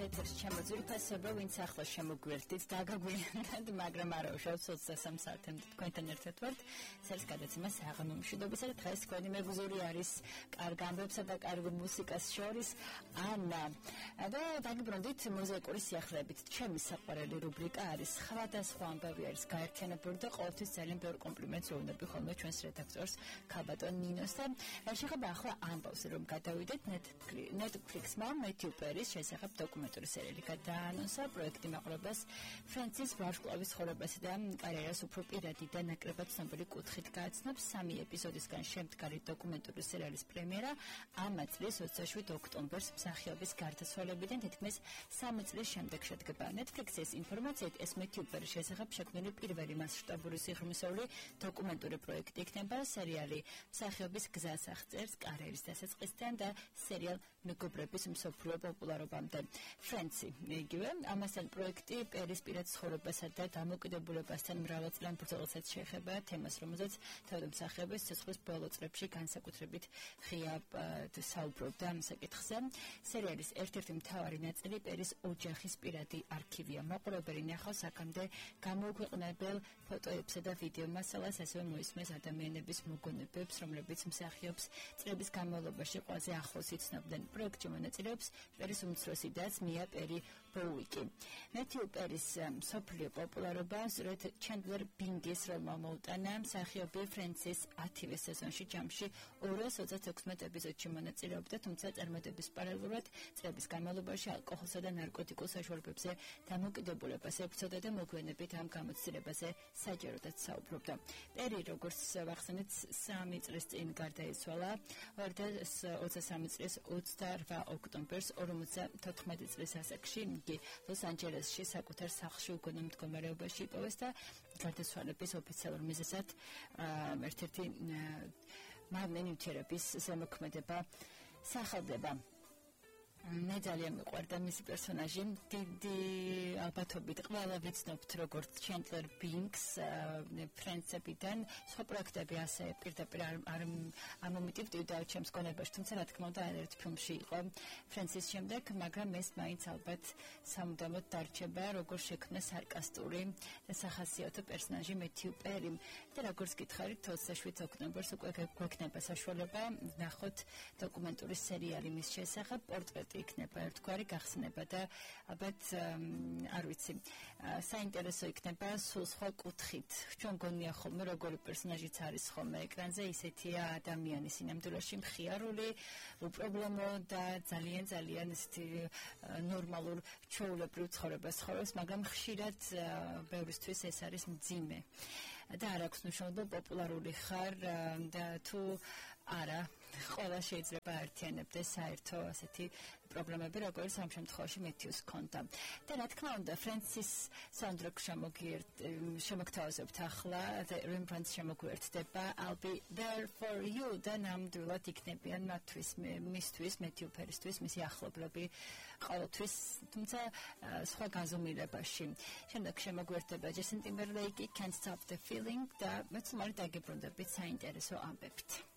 ეთერში შემოძვირფასება, ვინც ახლა შემოგვერდით, დაგაგვიანებთ, მაგრამ არა უშავთ 23 საათამდე თქვენთან ერთად ვართ. ეს გადაცემა საღამო მშვიდობისა და დღეს თქვენი მეგზური არის კარგ ამბებსა და კარგ მუსიკას შორის ანა. და დაგიბრუნდით მუზიკური სიახლეებით. ჩემი საყვარელი რუბრიკა არის სხვადასხვა ამბავი არის გაერთიანებული და ყოველთვის ძალიან ბევრ კომპლიმენტს ვუუნები ხოლმე ჩვენს რედაქტორს ქალბატონ ნინოს და შეხება ახლა ამბავს რომ გადავიდეთ Netflix-მა Matthew Perry-ის შესახებ დოკუმენტური სერიალი გადაანონსა პროექტი მაყურებელს ფრენცის ვარსკვლავის ცხოვრებასა და კარიერას უფრო პირადი და ნაკლებად ცნობილი კუთხით გააცნობს 3 ეპიზოდისგან შემდგარი დოკუმენტური სერიალის პრემიერა ამ წლის 27 ოქტომბერს მსახიობის გარდაცვალებიდან თითქმის 3 წლის შემდეგ შედგება. Netflix-ის ინფორმაციით ეს Matthew Perry-ის შესახებ შექმნილი პირველი მასშტაბური სიღრმისეული დოკუმენტური პროექტი იქნება. სერიალი მსახიობის გზას აღწერს კარიერის დასაწყისიდან და სერიალ მეგობრების მსოფლიო პოპულარობამდე. Friends-ი იგივე ამასთან პროექტი პერის პირად ცხოვრებასა და დამოკიდებულებასთან მრავალწლიან ბრძოლასაც შეეხება თემას, რომელზეც თავად მსახიობის ცოცხლის ბოლო წლებში განსაკუთრებით ღიად საუბრობდა ამ საკითხზე. სერიალის ერთ-ერთი მთავარი ნაწილი პერის ოჯახის პირადი არქივია. მაყურებელი ნახავს აქამდე გამოუქვეყნებელ ფოტოებსა და ვიდეო მასალას, ასევე მოისმენს ადამიანების მოგონებებს, რომლებიც მსახიობს წლების განმავლობაში ყველაზე ახლოს იცნობდნენ. პროექტში მონაწილეობს პერის უმცროსი და მია პერი ბოუიკი. Matthew Perry-ის მსოფლიო პოპულარობა სწორედ ჩენდლერ ბინგის როლმა მოუტანა. მსახიობი ფრენცის 10-ვე სეზონში ჯამში 236 ეპიზოდში მონაწილეობდა, თუმცა წარმატების პარალელურად წლების განმავლობაში ალკოჰოლსა და ნარკოტიკულ საშუალებებზე დამოკიდებულებას ებრძოდა და მოგვიანებით ამ გამოცდილებაზე საჯაროდაც საუბრობდა. პერი, როგორც ვახსენეთ, 3 წლის წინ გარდაიცვალა 2023 წლის 28 ოქტომბერს 54 წლის ასაკში. იგი ლოს-ანჯელესში საკუთარ სახლში უგონო მდგომარეობაში იპოვეს და გარდაცვალების ოფიციალურ მიზეზად ერთ-ერთი მაგნენიურების ზემოქმედება სახელდება. მე ძალიან მიყვარდა მისი პერსონაჟი. დიდი ალბათობით ყველა ვიცნობთ როგორც ჩენდლერ ბინგს ფრენცებიდან. სხვა პროექტები ასე პირდაპირ არ მომიტივდივდა ჩემს გონებაში, თუმცა რა თქმა უნდა ერთ ფილმში იყო ფრენცის შემდეგ, მაგრამ ეს მაინც ალბათ სამუდამოდ დარჩება როგორ შექმნა სარკასტური და სახასიათო პერსონაჟი Matthew Perry. და როგორც გითხარით 27 ოქტომბერს უკვე გვექნება საშუალება ნახოთ დოკუმენტური სერიალი მის შესახებ. პორტრეტი იქნება ერთგვარი გახსნება და ალბათ არ ვიცი საინტერესო იქნება სულ სხვა კუთხით. ჩვენ გონია ხოლმე როგორი პერსონაჟიც არის ხოლმე ეკრანზე, ისეთია ადამიანი სინამდვილეში მხიარული, უპრობლემო და ძალიან ისეთი ნორმალურ ჩვეულებრივ ცხოვრებას ცხოვრობს, მაგრამ ხშირად ბევრისთვის ეს არის მძიმე. და არ აქვს მნიშვნელობა პოპულარული ხარ და თუ არა, ყველა შეიძლება აერთიანებდეს საერთო ასეთი პრობლემები, როგორც ამ შემთხვევაში Matthew-ს ჰქონდა. და რა თქმა უნდა, ფრენცის საუნდტრეკ შემოგთავაზებთ ახლა, Rembrandt შემოგვიერთდება I'll be there for you და ნამდვილად იქნებიან მისთვის, Matthew Perry-ისთვის, მისი ახლობლები ყოველთვის, თუმცა სხვა გაზომილებაში. შემდეგ შემოგვიერთდება Justin Timberlake, Can't Stop the Feeling და მეც მალე დაგიბრუნდებით საინტერესო ამბებით.